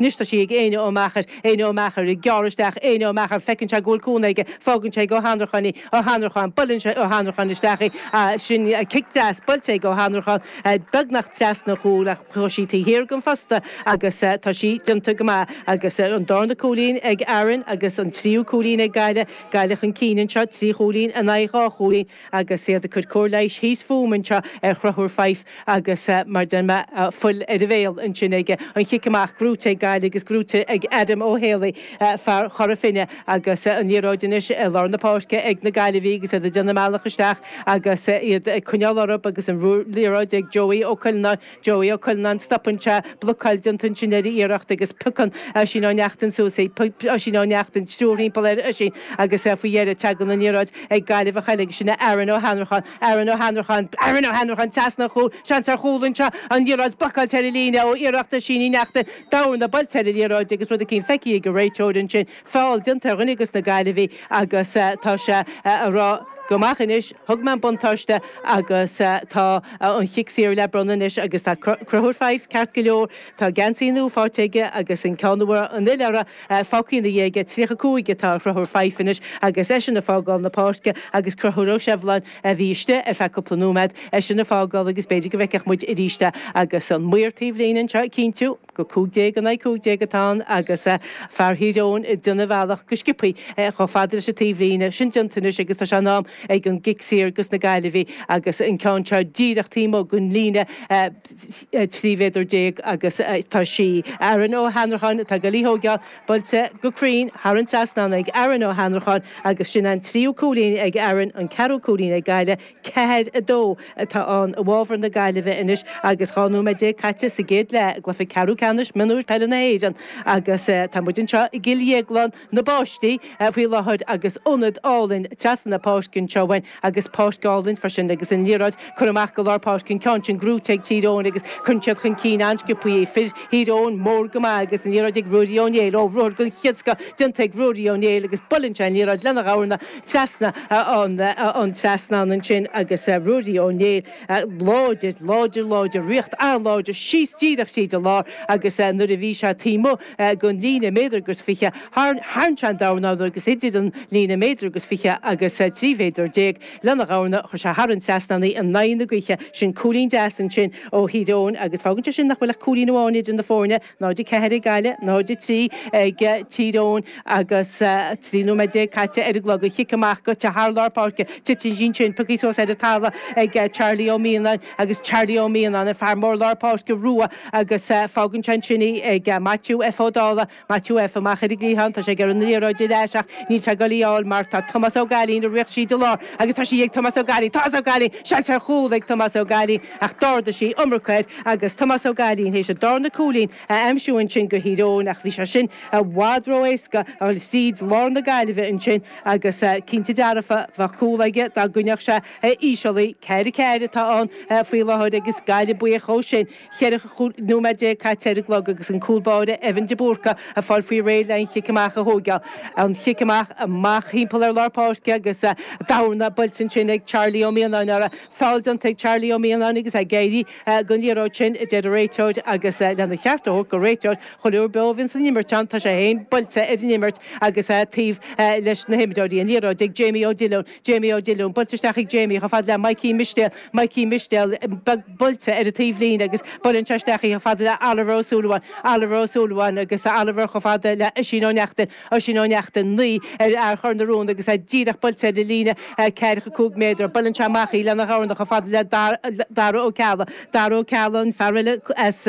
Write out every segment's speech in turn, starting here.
Anois tá sí ag Éanna Ó Meachair, Éanna Ó Meachair ag gearradh isteach, Éanna Ó Meachair, feiceann sé go bhfuil cúnamh aige, fágann sé ag Ó hAnnracháin í, Ó hAnnracháin, buaileann sé Ó hAnnracháin isteach í, sin cic deas buailte ag Ó hAnnracháin, beagnach trasna an chúil ach chuaigh sí taobh thiar den phosta agus tá sí déanta go maith agus an darna cúilín ag Aaron agus an tríú cúilín ag Gaillimh, Gaillimh chun cinn anseo, 3 chúilín in aghaidh 2 chúilín. Agus iad ag cur cóir leighis thíos fúm anseo ar Chrothúr Fyfe agus mar deir mé, fuil ar a bhéal ansin aige. An chic amach gnóite ag Gaillimh agus gnóite ag Adam Ó Héalaí, fear Chora Finne agus an liathróid anois i lár na páirce ag na Gaillimhigh agus iad ag déanamh a mbealach isteach agus iad ag coinneáil orthu agus an liathróid ag Joey Ó Cuileanáin. Joey Ó Cuileanáin, stopann sé, blocáil déanta ansin ar a iarracht agus piocann Oisín Ó Neachtain suas í. Oisín Ó Neachtain, triúr thimpeall ar Oisín agus faoi dheireadh tagann an liathróid ag Gaillimh a cheilg, sin é Aaron Ó hAnnracháin, Aaron Ó hAnnracháin, Aaron Ó hAnnracháin trasna an chúil, seans ar chúl anseo, an liathróid blocáilte ar an líne ó iarracht Oisín Uí Neachtain, dorna buailte ar an liathróid agus rud eicínt feicthe ag an réiteoir ansin, feall déanta ar dhuine de na Gaillimhigh agus tá sé a rá go maith anois, thug mé an buntáiste agus tá an chic saor le bronnadh anois agus tá Conchúr Fyfe ceart go leor, tá geansaí nua faighte aige agus an ceann a raibh an fhuil orthu fágtha ina dhiaidh aige, 35 atá ar Chonchúr Fyfe anois agus eisean ag fágáil na páirce agus Conchúr Ó Sibhleáin a bhí istigh ar feadh cúpla nóiméad, eisean ag fágáil agus b'fhéidir go bhfeicfeadh muid arís é agus an maor taobh líne anseo ag cinntiú. go 15 in aghaidh 15 atá ann agus fear Thír Eoghain ag déanamh a bhealach go sciobthaí chomh fada leis an taobhlíne. Sin déanta anois agus tá sé in am ag an gcic saor dos na Gaillimhigh agus an ceann seo díreach taobh amuigh den líne 13 mhéadar agus tá sí Aaron Ó hAnnracháin atá ag dul í thóigeáil, buailte go cruinn thar an trasnán ag Aaron Ó hAnnracháin agus sin an tríú cúilín ag Aaron, an ceathrú cúilín ag Gaillimh. 4, 2 atá ann i bhfabhar na Gaillimhe anois agus 12 nóiméad caite sa gcéad leath i gcluiche ceathrú ceannais mionúir peile na hÉireann agus tá muid anseo i gCill Dhéagláin na bpáistí faoi láthair agus ionad álainn trasna na páirce anseo uainn agus páirc álainn freisin agus an liathróid curtha amach go lár páirce an ceann sin gnóite ag Tír Eoghain agus cuireann siad chun cinn an-sciobtha í fir Thír Eoghain mór go maith agus an liathróid ag Ruairí Ó Néill ó ruathar den chéad scoth déanta ag Ruairí Ó Néill agus buaileann sé an liathróid lena dhorna trasna an trasnán ansin agus Ruairí Ó Néill láidir, láidir, láidir, riocht an-láidir síos díreach tríd an lár agus nuair a bhí sé taobh amuigh den líne méadar agus fiche, tharraing sé an dornán agus idir an líne méadar agus fiche agus 13 mhéadar lena dhorna, chuir sé thar an trasnán í in aghaidh na gaoithe. Sin cúilín deas ansin ó Thír Eoghain agus fágann sé sin nach bhfuil ach cúilín amháin idir na foirne. 0-4 ag Gaillimh, 0-3 ag Tír Eoghain agus 13 nóiméad caite ar an gclog. An chic amach gaibhte thar lár páirce, titeann sí ansin, pioctha suas ar an talamh ag Charlie Ó Mianáin agus Charlie Ó Mianáin, an fear mór lár páirce rua agus fágann sé ansin í ag Maitiú F Ó Dálaigh. Maitiú F amach ar an gcliathán, tá sé ag iarraidh an liathróid ar ais ach níl sé ag dul í fháil mar tá Tomás Ó Gailín ag rith tríd an lár agus tá sí ag Tomás Ó Gailín, Tomás Ó Gailín, seans ar chúl ag Tomás Ó Gailín ach d'ardaigh sí iomarca air agus Tomás Ó Gailín théis an darna cúilín a aimsiú ansin do Thír Eoghain ach bhí sé sin i bhfad ró-éasca a dhul tríd lár na Gaillimhe ansin agus cinnte dearfa bheadh cúl aige dá gcoinneodh sé íseal í. 4 4 atá ann faoi láthair agus Gaillimh buíoch dhó sin. 14 nóiméad caite ar an gclog agus an cúl báire Evan de Búrca ag fáil faoi réir le an chic amach a thóigeáil. An chic amach amach thimpeall ar lár páirce agus dorna buailte ansin ag Charlie Ó Mianáin orthu. Feall déanta ag Charlie Ó Mianáin agus é ag éirí den liathróid sin, a deir an réiteoir agus lena cheart a thabhairt don réiteoir, chuile uair beo a bhíonns an imirt ann, tá sé féin buailte ar an imirt agus é taobh leis na himreoirí. An liathróid ag Jamie Ó Dillúin. Jamie Ó Dillúin, buailte isteach ag Jamie chomh fada le Mikey Mistéil, Mikey Mistéil beag buailte ar an taobhlíne agus buaileann sé isteach í chomh fada le Oliver Ó Súilleabháin, Oliver Ó Súilleabháin agus Oliver chomh fada le Oisín Ó Neachtain, Oisín Ó Neachtain, 9 ar fhear Chor na Rón agus é díreach buailte ar an líne ceathracha 5 méadar. Buaileann sé amach í lena dhorna chomh fada le Dara Ó Ceallaigh, Dara Ó Ceallaigh, an fear eile as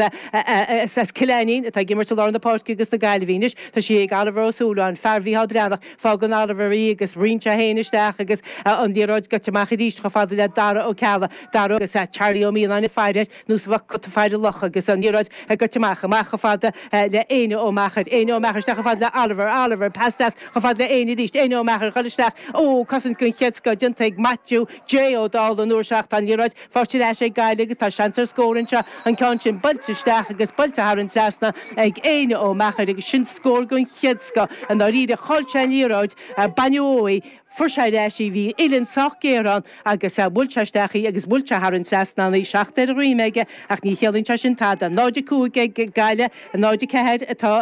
as Cill Ainnín atá ag imirt i lár na páirce dos na Gaillimhigh anois. Tá sí ag Oliver Ó Súilleabháin, fear Mhícheál Breathnach. Fágann Oliver í agus ritheann sé féin isteach agus an liathróid gaibhte amach arís chomh fada le Dara Ó Ceallaigh, Dara agus Charlie Ó Mianáin ag faire air nós a bheadh cat ag faire luch agus an liathróid gaibhte amach, amach chomh fada le Éanna Ó Meachair, Éanna Ó Meachair isteach chomh fada le Oliver, Oliver, pas deas chomh fada le Éanna arís, Éanna Ó Meachair ag dul isteach, ó, cosaint den chéad scoth déanta ag Matthew J Ó Dálaigh an uair seo ach tá an liathróid Faighte ar ais ag Gaillimh agus tá seans ar scór anseo, an ceann sin buailte isteach agus buailte thar an trasnán ag Éanna Ó Meachair agus sin scór den chéad scoth. I ndáiríre, chaill sé an liathróid, baineadh uaidh í. Fuair sé ar ais í, bhí uillinn sách géar ann agus bhuail sé isteach í agus bhuail sé thar an trasnán í, 7 ar a dhroim aige ach ní chiallaíonn sé sin tada. 0-5 ag Gaillimh, 0-4 atá.